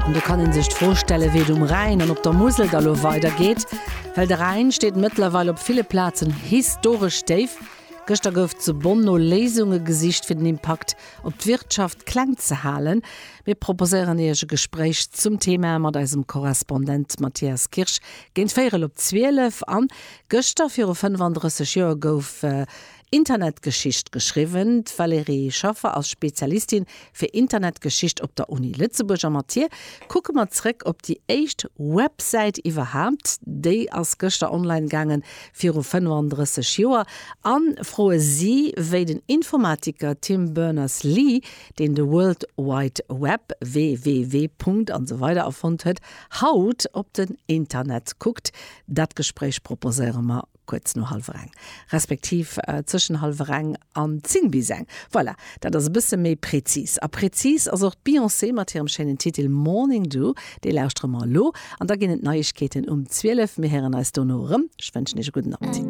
An do kann ee sech d'Fro stellen, wéi et um Rhäin an op der Musel da lo weidergeet. Well de Rhäin steet mëttlerweil op ville Plazen historesch déif. Gëschter gouf zu Bonn no Léisunge gesicht, fir den Impakt op d'Wirtschaft kleng ze halen. Mir proposéieren Iech e Gespréich zum Thema mat eisem Korrespondent Mathias Kirsch géint véierel op 12. An gëschter viru 35 Joer gouf Internetgeschicht geschriwwen. D'Valérie Schaffer ass Spezialistin fir Internetgeschicht op der Uni Lëtzebuerg a mat hir kucke mer zréck op déi éischt Websäit iwwerhaapt. Déi ass gëschter online gaangen, viru 35 Joer. A froe si, wéi den Informatiker Tim Berners-Lee, deen de World Wide Web, WWW. An esou weider erfonnt huet, haut op den Internet kuckt. Dat Gespréich proposéiere mer kuerz no hallwer eng, respektiv zwëschen hallwer eng an 10 bis eng. Voilà, dat ass e bësse méi prezis. A prezis ass och d'Beyoncé mat hirem schéinen Titel Morning Dew. Dee lauschtere mer elo an da ginn et Neiegkeeten um 12. Mir héieren eis dono erëm. Ech wënschen iech e gudden Appetit.